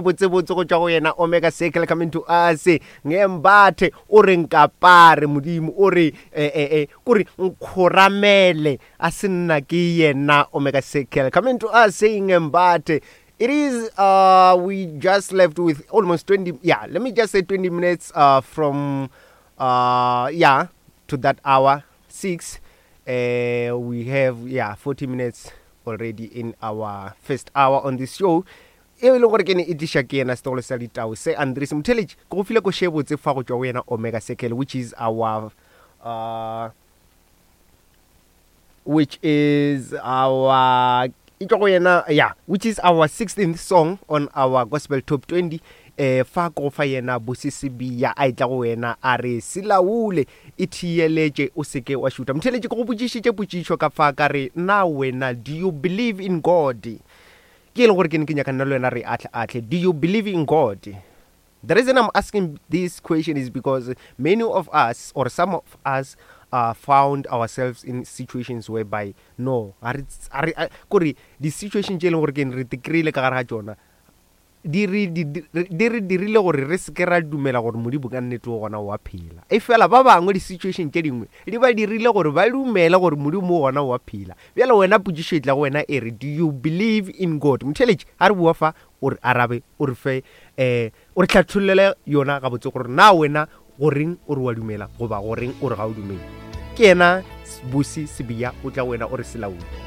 Botsebotse go tšwa go yena Omega Circle coming to us ngembathe o re nkapare modimo o re eh, eh, eh, kore nkgoramele a se nna ke yena Omega Circle coming to us saying ngembathe. It is uh we just left with almost 20, yeah, let me just say 20 minutes from yeah to that hour 6. We have, yeah, 40 minutes already in our first hour on this show e le gore ke ne e tliša ke yena setogolo sa ditau se Andries Motheletši. Ke go file koše botse fa go tšwa go yena Omega Circle, which is our which is our e tšwa go yena, yeah, which is our 16th song on our gospel top 20. Fa ko fa yena Bosisibia a etla go wena a re selaule e thiyeletše o seke wa šutha. Motheletši, ke go botšišitše potšišo ka fa ka re na wena do you believe in God? Ke e le gore ke ne ke nyaka nna le wena re ahle ahle, do you believe in God? The reason I'm asking this question is because many of us or some of us found ourselves in situations whereby no ga re, ga re, kore di-situation tše e leng gore ke re te kry-ile ka gare ga tšona di re, di, di, di re dirile gore re se ke ra dumela gore Modimo ka nnete o gona o a phela. Efela ba bangwe di-situation tše dingwe di ba dirile gore ba dumele gore Modimo o gona o a phela. Bjale wena potšišo e tla go wena e re, do you believe in God? Motheeletši, ga re bua fa, o re arabe, o re fe, um o re hlathollele yona gabotse gore na wena goreng o re wa dumela goba goreng o re ga o dumele. Ke yena Busi Sibiya o tla go wena o re selaodi.